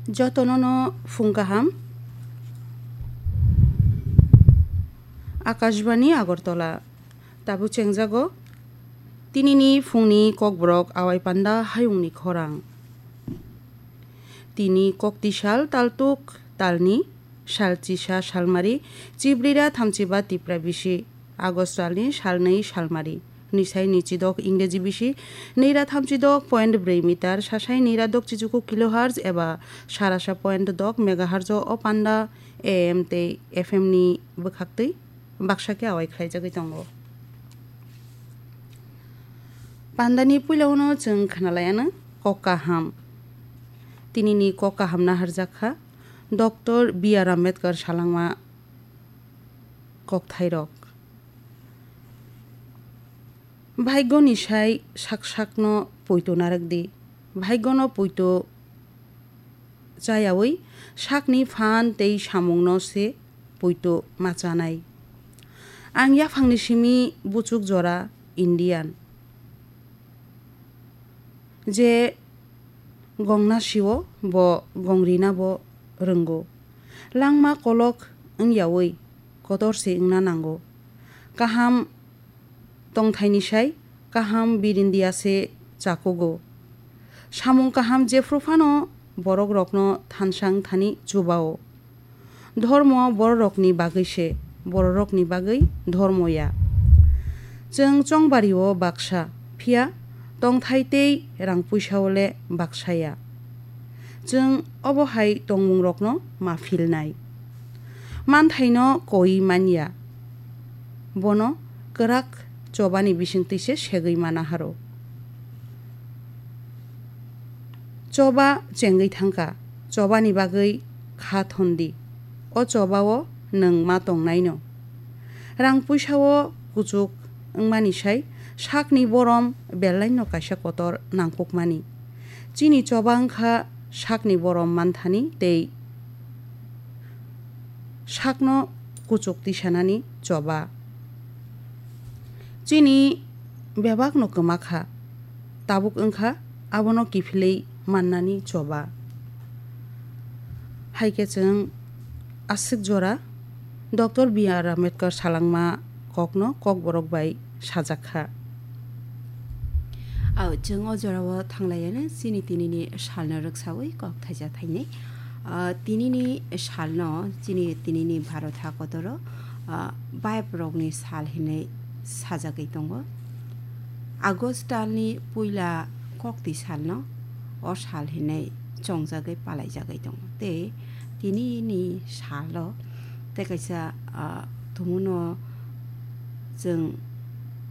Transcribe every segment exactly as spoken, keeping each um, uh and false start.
Jotono no phung kaham. Akashbani Agartala. Tabuk chengjago tinini phungni kokborok awai panda hayungni khorang. Tini koktisal taltuk talni sal chisa salmari, chibrira thamchiba tipra bisi, August talni salnwi salmari, nisai nichidok Ingreji bisi, nira thamchidok point brwi meter, sasai nira dok chichuku kilohertz eba sarasa point dok megahertz o panda A M tei F M ni bwkhaktwi baksa khe awai khlaijagwi tongo. Pandani puilano chwng khnalaiano kok kaham. Tinini kok kaham naharjak kha Doctor B R Ambedkar salangma kokthairok. Bhaigoni sai sak sakno poito narwk di. Bhaigono poito chayawi sakni phan tei samungno se poito ma chanai. Ang yaphangni simi buchuk jora Indian. Je gongna sio bo gong rina bo rwngo. Langma kolok wngyawi kotor se wngna nango. Kaham tongthaini sai kaham birindia se chakugo. Samung kaham jephru phano borokrokno thansa wngthani chubao. Dhormo bororokni bagwi se, bororokni bagwi dhormo ya. Chwng chongbario baksa, phiya tongthai tei rang puisao le baksa ya. Chwng obo hai tongmungrokno ma philnai. Manthaino koi manya. Bono kwrak chobani bisingtwi se segwi mana haro. Choba chengwi thangkha, chobani bagwi kha thondi. O chobao nwng ma tongnaino. Rang puisao kuchuk wngmani sai sakni borom belaino kaisa kotor nangkukmani. Chini choba wngkha sakni borom manthani tei sakno kuchuk tisanani choba. Chini bebakno kwma kha, tabuk wngkha abono kiphilwi mannani choba. Hai khe chwng aswk jora Doctor B R Ambedkar salangma kokno kokborok bai sajak kha. Au, chwng o jorao thanglaiano chini tinini salno rwksawi kok thaisa thainwi. Ah, tinini salno chini tinini Bharat hakotoro, ah, baiprokni sal hinwi sajagwi tongo. August talni puila kokti salno o sal hinwi chongjagwi palaijagwi tongo. Tei tinini salo tei kaisa, ah, tumuno chwng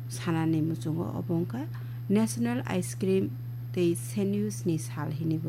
sanani muchungo obo wngkha National Ice Cream tei Sandwich ni sal hinwi